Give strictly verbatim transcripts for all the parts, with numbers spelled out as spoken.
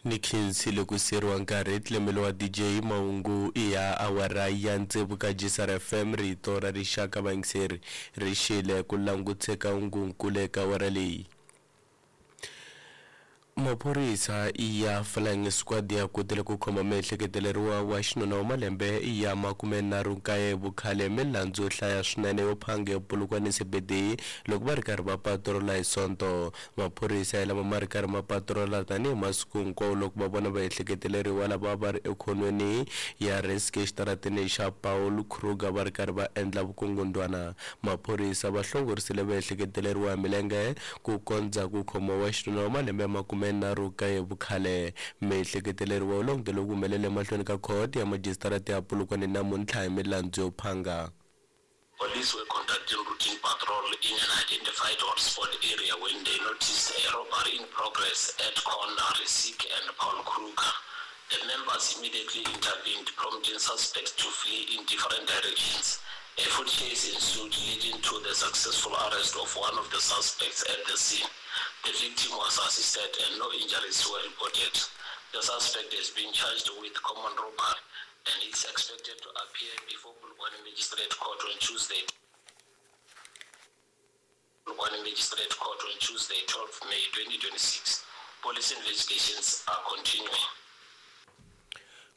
Ni khensile ku siyeriwa nkarhi tlemelo wa D J mahungu ya awara ya tsevu ka G S R F M, rito ra rixaka. Vayingiseri, ri xile ku languteka hungunkulu eka awara leyi. Maphorisa ya Flying Squad ya kotile ku khoma miehleketeleriwa wa xinuna wa malembe ya makumenharhu nkaye vukhale milandzu yo hlaya swinene yo phanga ePolokwane C B D loko va ri karhi va patrola hi Sonto. Maphorisa ya lama ma ri karhi ma patrola tanihi masiku hinkwawo loko va vona vaehleketeleriwa lava va ri ekhonweni ya Risk exitarateni xa Paul Kruger va ri karhi va endla vukungundwana. Maphorisa va hlongorisile vaehleketeleriwa hi milenge ku kondza ku khomiwa wa xinuna wa malembe ya makumenharhu kaye vukhale. Miehleketeleriwa u langutele ku humelela emahlweni ka khoto ya majisitarata ya Polokwane namuntlha hi milandzu yo phanga. Police were conducting routine patrol in an identified hotspot area when they noticed a robbery in progress at corner Rissik and Paul Kruger. The members immediately intervened, prompting suspects to flee in different directions. A foot chase ensued, leading to the successful arrest of one of the suspects at the scene. The victim was assisted and no injuries were reported. The suspect has been charged with common robbery and is expected to appear before Polokwane Magistrate Court on Tuesday. Polokwane Magistrate Court on Tuesday, twelve May twenty twenty-six. Police investigations are continuing.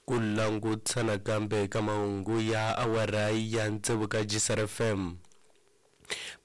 Ku langutisa nakambe eka mahungu ya awara ya tsevu ka G S R F M.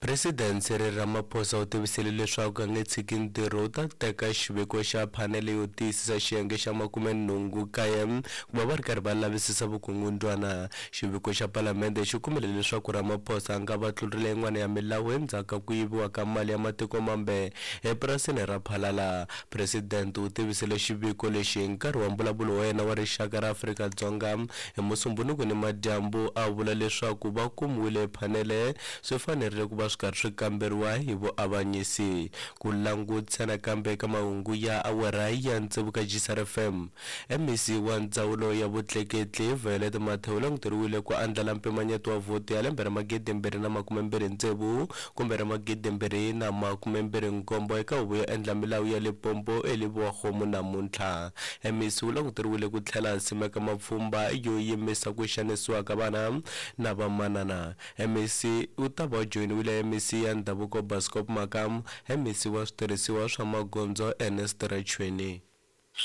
President Cyril Ramaphosa u tivisile leswaku a nge tshiki ntirho, u ta teka xiviko xa phanele yo tiyisisa xiyenge xa makumenhungu kaye ku va va ri karhi va lavisisa vukungundwana. Xiviko xa palamende xi kumile leswaku Ramaphosa a nga va tlurile yin'wana ya milawu endzhaku ka ku yiviwa ka mali ya matiko mambe epurasini ra Phalala. President u tivisile xiviko lexi hi nkarhi wa mbulavulo wa yena wa rixaka ra Afrika-Dzonga hi Musumbunuku ni madyambu, a vula leswaku va kumiwile phanele swi fanerile ku va swi karhi swi kamberiwa hi vuavanyisi. Ku langutisa nakambe eka mahungu ya awara ya tsevu ka G S R F M. M E C wa ndzawulo ya vutleketli Violet Mathe u languteriwile ku andlala mpimanyeto wa vhoti ya lembe ra magidi mbirhi na makume mbirhi tsevu kumbe ra magidi mbirhi na makume mbirhi nkombo eka huvo yo endla milawu ya Limpopo eLebowakgomo namuntlha. M E C u languteriwile ku tlhela a simeka mapfhumba yo yimisa ku xanisiwa ka vana na vamanana. M E C u ta va joyiniwile M E C ya ndhavuko Bascop Makamu, M E C wa switirhisiwa swa magondzo Ernest Rachweni.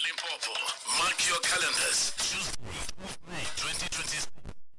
Limpopo.